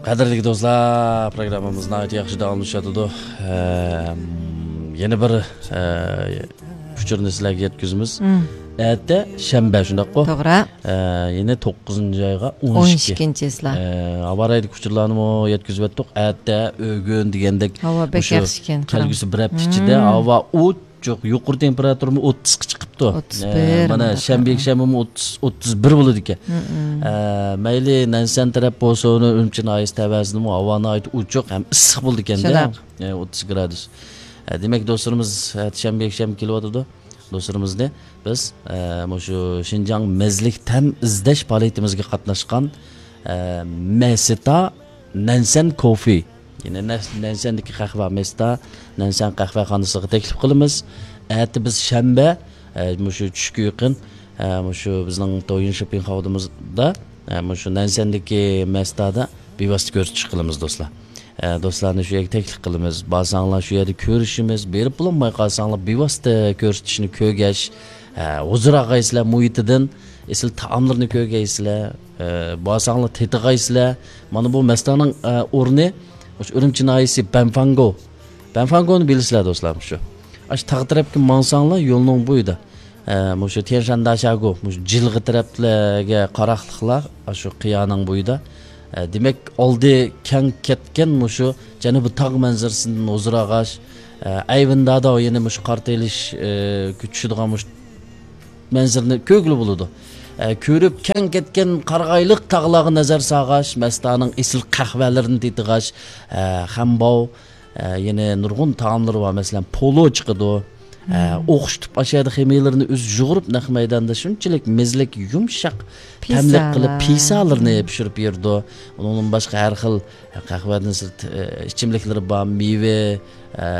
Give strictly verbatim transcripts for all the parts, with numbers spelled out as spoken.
قەدىرلىك دوستلار، پروگراممىمىز ناھايىتى ياخشى داۋاملىشىۋاتىدۇ. ئەم، يەنە بىر، ئە، ئۇچۇرنى سىلەرگە يەتكۈزىمىز. مم. ئەتە شەنبە، شۇنداققۇ؟ توغرا. ئە، يەنە توققۇزىنچى ئايغا ئون ئىككى. ئون ئىككىنچى چىسلا. ئە، ھاۋا رايىدىكى ئۇچۇرلارنىمۇ يەتكۈزۈۋەتتۇق. ئەتە، ئۆگۈن دېگەندەك ھاۋا بەك مۇشۇ ياخشىكەن، قاراڭ. كەلگۈسى بىر ھەپتە ئىچىدە مم. ھاۋا ئوچۇق، يۇقىرى تېمپېراتۇرىمۇ ئوتتۇزغا چىقىپتۇ. ئوتتۇز بىر ئە، مانا مۇنداق. شەنبە، يەكشەنبىمۇ ئوتتۇز، ئوتتۇز بىر بولىدىكەن. مم. ئە، مەيلى نەنسەن تەرەپ بولسۇن، ئۈرۈمچى ناھىيەسى تەۋەسىدىمۇ ھاۋا ناھايىتى ئوچۇق ھەم ئىسسىق بولىدىكەن-دە. شۇنداق. ئە، ئوتتۇز گرادۇس. ئە، دېمەك، دوستلىرىمىز، ئە، شەنبە، يەكشەنبە كېلىۋاتىدۇ. دوستلىرىمىزنى بىز، ئە، مۇشۇ شىنجاڭ مەززىلىك تەم ئىزدەش پائالىيىتىمىزگە قاتناشقان، ئە، مەستا نەنسەن كوفې، يەنى نەس-، نەنسەندىكى قەھۋە، مەستا نەنسەن قەھۋەخانىسىغا تەكلىپ قىلىمىز. ئەتە بىز شەنبە، ئە، مۇشۇ چۈشكە يېقىن، ئە، مۇشۇ بىزنىڭ دويىن شوپپىڭ خاۋدىمىزدا، ئە، مۇشۇ نەنسەندىكى مەستادا بىۋاسىتە كۆرسىتىش قىلىمىز، دوستلار. ئە، دوستلارنى شۇ يەرگە تەكلىپ قىلىمىز. بارساڭلار شۇ يەردە كۆرۈشىمىز. بېرىپ بولالماي قالساڭلار، بىۋاسىتە كۆرسىتىشنى كۆرگەچ، ئە، ھۇزۇر ئاغايسىلەر مۇھىتىدىن ئېسىل تائاملىرىنى كۆرگەيسىلەر. ئە، بارساڭلار تېتىغايسىلەر. مانا بۇ مەستانىڭ، ئە، ئورنى مۇشۇ ئۈرۈمچى ناھىيەسى بەنفاڭگو. بەنفاڭگونى بىلىسىلەر، دوستلار، مۇشۇ. ئاشۇ تاغ تەرەپكە ماڭساڭلار يولنىڭ بويىدا. ئە، مۇشۇ تيەنشانداشاگو، مۇشۇ جىلغا تەرەپلەرگە قاراقلىقلار، ئاشۇ قىيانىڭ بويىدا. ئە، دېمەك، ئالدى كەڭ كەتكەن مۇشۇ جەنۇبىي تاغ مەنزىرىسىدىن ھۇزۇر ئالغاچ، ئە، ئەيۋىندادا يەنە مۇشۇ قارا تېلىش، ئە، چۈشىدىغان مۇشۇ مەنزىرىنى كۆرگىلى بولىدۇ. ئە، كۆرۈپ كەڭ كەتكەن قارىغايلىق تاغلارغا نەزەر سالغاچ، مەستانىڭ ئېسىل قەھۋەلىرىنى تېتىغاچ، ئە، خەنباۋ، ئە، يەنە نۇرغۇن تائاملىرى بار. مەسىلەن، پولۇ چىقىدۇ. ئە، مم. ئوخشىتىپ ئاشۇ يەردە خېمىيلىرىنى ئۆزى يۇغۇرۇپ، نەق مەيداندا شۇنچىلىك مېزىلىك، يۇمشاق تەملىك قىلىپ، پىسالار. پىسالىرىنى مم. پىشۇرۇپ بېرىدۇ. ئۇنىڭدىن باشقا ھەر خىل قەھۋەدىن سىرت، ئە، ئىچىملىكلىرى بار، مېۋە، ئە،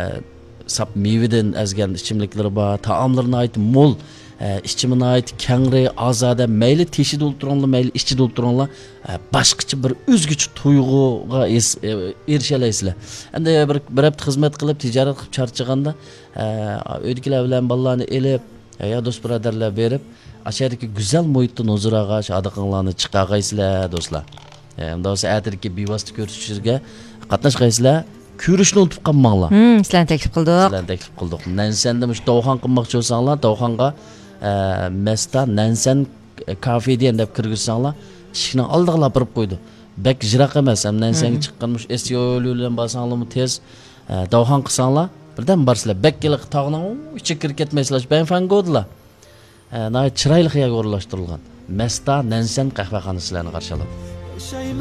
ساپ مېۋىدىن ئەزگەن ئىچىملىكلىرى بار، تائاملىرى ناھايىتى مول، ئە، ئىچىمى ناھايىتى كەڭرى، ئازادە، مەيلى تېشىدا ئولتۇرۇڭلار، مەيلى ئىچىدە ئولتۇرۇڭلار، ئە، باشقىچە بىر ئۆزگىچە تۇيغۇغا ئېس-، ئە، ئېرىشەلەيسىلەر. ئەمدى بىر، بىر ھەپتە خىزمەت قىلىپ، تىجارەت قىلىپ چارچىغاندا، ئە، ئۆيدىكىلەر بىلەن بالىلارنى ئېلىپ، ئە، يا دوست بۇرادەرلەر بېرىپ، ئاشۇ يەردىكى گۈزەل مۇھىتتىن ھۇزۇر ئالغاچ، ھادىقىڭلارنى چىقارغايسىلەر، دوستلار. ئە، ئەمدى بولسا ئەتىدىكى بىۋاسىتە كۆرسىتىشىگە قاتناشقايسىلەر. كۆرۈشنى ئۇنتۇپ قالماڭلار. ھىم، سىلەرنى تەكلىپ قىلدۇق. سىلەرنى تەكلىپ قىلدۇق. نەنسەندە مۇشۇ داۋخان قىلماقچى بولساڭلار، داۋخانغا، ئە، مەستا نەنسەن، ئە، كافېدىيەن دەپ كىرگۈزسەڭلار، ئىشىكنىڭ ئالدىغىلا ئاپىرىپ قويىدۇ. بەك يىراق ئەمەس. ھەم نەنسەنگە مم. چىققان مۇشۇ ئېس يولى بىلەن بارساڭلارمۇ تېز، ئە، داۋخان قىلساڭلار، بىردەم بارسىلەر. بەك ھېلىقى تاغنىڭ ئۇ ئىچىگە كىرىپ كەتمەيسىلەر. شۇ بەنفەنگودىلا. ئە، ناھايىتى چىرايلىق يەرگە ئورۇنلاشتۇرۇلغان مەستا نەنسەن قەھۋەخانىسى سىلەرنى قارشى ئالىدۇ.